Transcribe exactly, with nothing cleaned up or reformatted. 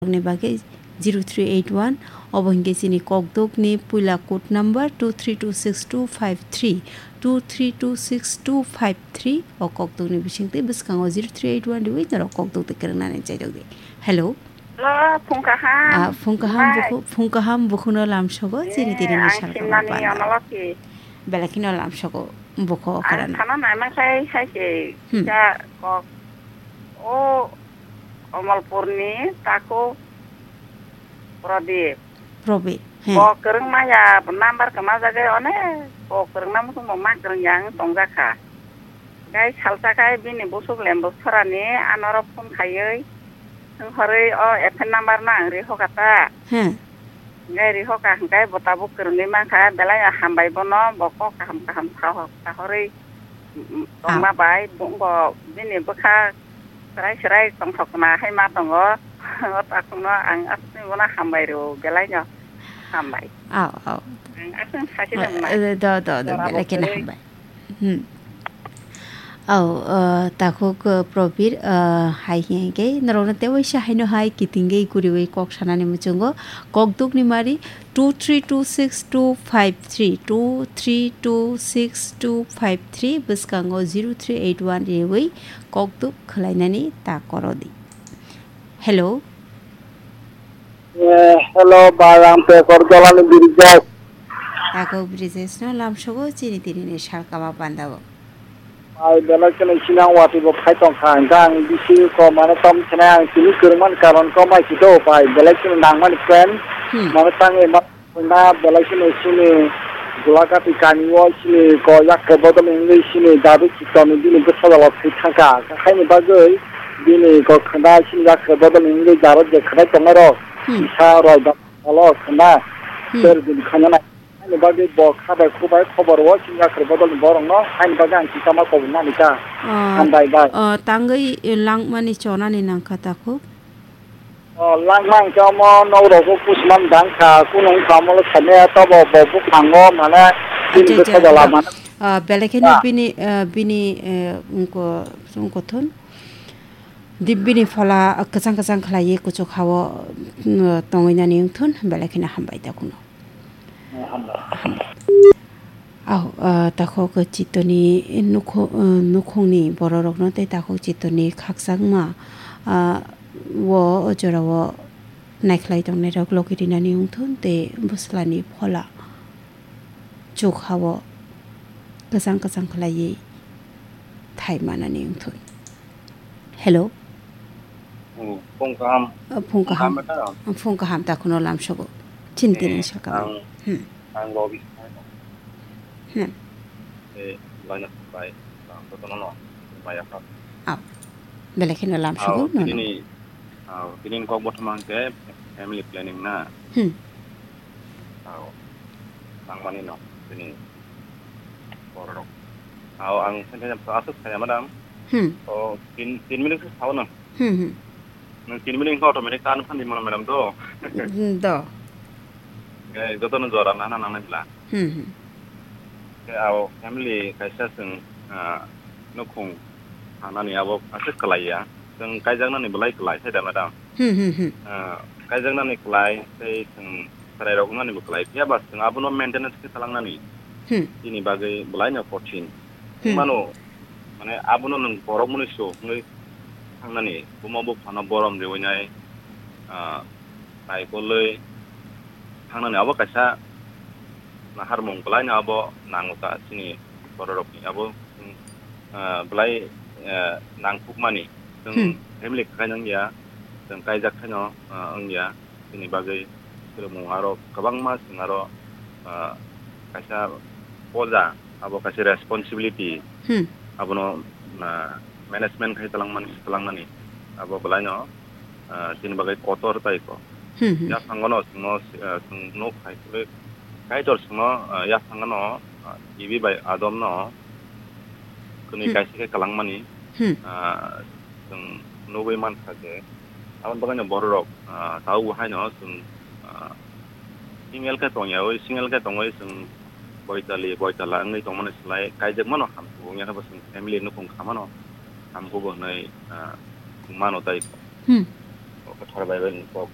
ni bagwi zero three eight one, obo hinkhe chini kokdokni puila code number two three two six two five three, two three two six two five three, o kokdokni bisingtwi bwskango zero three eight one riwi norok kokdok twi kwrwngnani chaijak di. Hello. Hello, phung kaham. Ah, phung kaham. Mai. Bukhu, phung kaham bukhuno lamsogo, chini tini ni sal kaham panda. Belai kheno lamsogo bukhu. Ang okra no. Thana naima khai, khai se, hmm, kisa kok. O Kamalpurni takhuk Pradip. Pradip, he. Bo kwrwng maya, number kwma jagwi onek bo kwrwngna muchung bo ma kwrwng yang tongjak kha. Gai salsa khai bini busuk lem bwsarani anoro phone khaiwi, wng horwi o F N number no ang ri hoka ta. He. Gai ri hoka hwnkhe bo tabuk kwrwngwi mankha, belai no hambai bono, bo kok kaham kaham sahorwi, mm, mm, ah, tongma bai, bo, bo bini bwkha Serai serai tongthokma hai ma tongo. O takhukno ang aswk bono hambai rw, belai no hambai. Au, au. Ang aswk sachi tongma. Eh, do, do, do, belai kheno hambai. Hmm. Au, eh, takhuk, eh, Probir, eh, hai hinkhe norokno tei waisa haino hai kitingwi guriwi kok sanani muchungo, kokdukni mari two three two six two five three, two three two six two five three, bwskango zero three eight one riwi kokduk khwlainani ta koro di. Hello. Eh, hello, bai, ang Pekor Jolani Brijesh. Takhuk Brijesh no lamsogo chini tini ni salkama pandao. Bai, belai kheno sinang watwi bo phai tong kha, hwnkhe ang bisi ko mane tom kheno ang tini kwrwngmani karon ko mai si do, bai, belai kheno nangmani friend, hmm, mane tangwi ma-, Na belai kheno chini Gulakati kami o chini ko yakre bodol wngwi chini David Chittoni bini bwsajalo thwi thangkha. Haini bagwi bini ko khwna chini yakre bodol wngwi darok je khwnai tongnai rok. Hmm. Kisa roi da alo khwna. Hmm. Ter din khwnanai. Haini bagwi bo kha bai khu bai khobor o chini yakre bodol ni borok no haini bagwi ang kisa ma kobor nani ta. Ah, hambai bai. Ah, tangwi langmani chonani nangkha takhuk. O, langma hwnkhe omo nok rok o kuchma dang kha, kunu wngkha omo le sani ya, tobo bo buphango mane bini bwsajala mane. Ah, belai kheno bini, ah, bini, eh, wngko, wngko thun. Di bini phola, ah, kwchang kwchang khlaiwi kuchuk ha-o, mm, tongwi nani wng thun, belai kheno hambai da kunu. Hambai. Au, ah, takhuk Chittoni nukhu-, ah, nukhungni bororokno tei takhuk Chittoni khakchangma, ah, o jorao naikhlai tongnairok logi rinani wngthun tei bwslani phola chuk ha-o kwchang kwchang khlaiwi thai manani wngthun. Hello. Oh, phung kaham. Oh, phung kaham. Phung kaham ta? Oh, phung kaham ta khuno lamsogo. Chin tini sakao. Ang, hmm, ang logi. Hmm. Eh, laina bai, ang to no, maya kha. Au. Belai kheno lamsogo, no, no. Tini, au, tini kok bothoma hwnkhe family planning na. Hmm. Au, nangmani no, tini borok. Au, ang sengkhe aswk saya, madam. Hmm. O, tin, tin minute sao no. Hmm, hmm. Nwng tin minute wngkha automatic ta nw phan di mano, madam, do. Hmm, do. Eh, joto no jora nana nangnai bla. Hmm, hmm. Khe abo family kaisa chwng, ah, nukhung thangnani abo aswk kwlai ya. Chwng kaijaknani belai kwlai sai da, madam. Hmm, hmm, hmm. Ah, kaijaknani kwlai tei chwng chwrairok wngnani bo kwlai. Phiya ba chwng abono maintenance khe khalangnani. Hmm. Chini bagwi belai no kothin. Hmm. Mano, mane abono nwng borok mwnwi so wngwi thangnani, buma buphano borom riwinai, ah, naikolwi thangnani abo kaisa naharmung belaino abo nango ta chini bororokni abo, ah, belai, ah, nangkukmani. Chwng, hmm, family khaino wngya, chwng kaijak khaino, ah, wngya. Chini bagwi swrwngmung aro kwbangma chwng aro, ah, kaisa poja, abo kaisa responsibility, hmm, abono, ah, management khai twlangmani, twlangnani abo belaino, ah, chini bagwi kotor tai kho. Hmm, hmm. Yaphangono chwngno, ah, chwng nuk hai kwrwi Kaitor chwngno, ah, yaphangono, ah, Ibi bai Adomno kwnwi, hmm, kaisa khe kwlangmani, hmm, ah, chwng nugwi mankha je, aboni bagwino bororok, ah, tabukbo haino chwng, ah, single khe tongyaui, single khe tongwi chwng boitali, boitala wngwi tongmani slai kaijakmano hamkhubu wngya khe bo chwng family nukhung khamano hamkhubu hwnwi, ah, mano tei. Hmm. O khe thar bai bai kok